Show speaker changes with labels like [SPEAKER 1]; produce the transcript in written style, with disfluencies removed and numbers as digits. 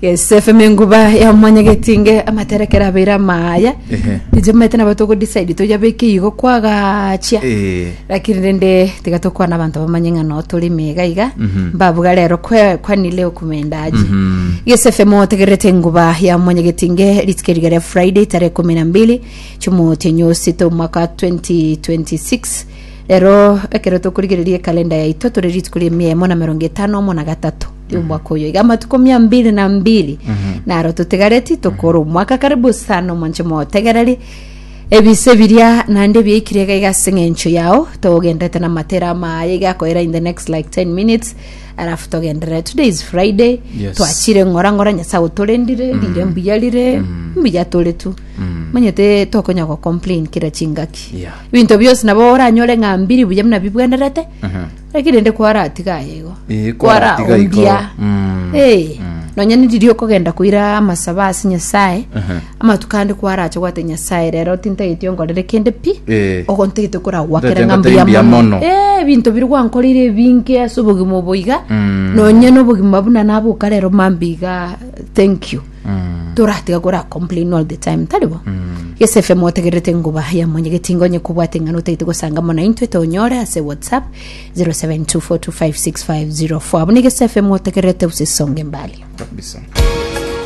[SPEAKER 1] Gesefe enguba ya mwanyagetinge amaterekero abeire amaya
[SPEAKER 2] Ehe.
[SPEAKER 1] inche maete nabo togodecide toyabeke igo kwagachia
[SPEAKER 2] Eh.
[SPEAKER 1] lakini rende tiga tokwana abanto bamanye ng'a no tore ime iga iga
[SPEAKER 2] Mhm.
[SPEAKER 1] mbabuga rero kwe- kwani leo kumendaje
[SPEAKER 2] Mhm.
[SPEAKER 1] gesefe motegererete enguba ya mwanyagetinge rituko eriga ria friday tarehe kumi na mbili chimotienyi osita omwaka wa 2026 rero ekero tokorigereria ekalenda yaito tore rituko ria emia emo na merongo etano omo na gatato omwaka oyo iga amatuko mia mbili na mbili naro totigareti tokore omwaka karibu sana omonche motegereri ebise biria naende biaikire iga iga ase eng'encho yao togendete na amatera amaye iga akoera in the next like 10 minutes alafu togenderere today is friday
[SPEAKER 2] Yes.
[SPEAKER 1] twachire ng'ora ng'ora nyasaye otorendire rire mbuya rire mbuya tore tu manyete tokonya go complain kera chingaki
[SPEAKER 2] Yeah.
[SPEAKER 1] ebinto bionsi nabo oranyore ng'a mbiri buya buna bibwenerete Lakini rende kwaratiga aye igo.
[SPEAKER 2] Eh, kwaratiga igo.
[SPEAKER 1] Kwaraombia.
[SPEAKER 2] Mm.
[SPEAKER 1] Eh. Nonya niriria okogenda koira amasabo ase Nyasaye.
[SPEAKER 2] Aha.
[SPEAKER 1] Amatuko ande kwarache gwate Nyasaye rero tintageti onkorere kende pi.
[SPEAKER 2] Eh.
[SPEAKER 1] Ogo ntagete koragwakera
[SPEAKER 2] Ntagete
[SPEAKER 1] ng'a
[SPEAKER 2] ngotebi
[SPEAKER 1] mbuya
[SPEAKER 2] mbuya
[SPEAKER 1] mono.
[SPEAKER 2] mono.
[SPEAKER 1] Eh, ebinto biri gwankoreire ebinge ase obogima obo iga.
[SPEAKER 2] Mm.
[SPEAKER 1] Nonya na obogima buna naboka rero mambia iga thank you.
[SPEAKER 2] Mm.
[SPEAKER 1] Toratiga kora complain all the time tari bo gese fm otegererete enguba ya mwenyegeti ngonye kobwate ng'ana otagete gosanga mono intwe tonyore ase whatsapp 0724256504 abwo ni gese fm otegererete usisonge mbali
[SPEAKER 2] Kabisa.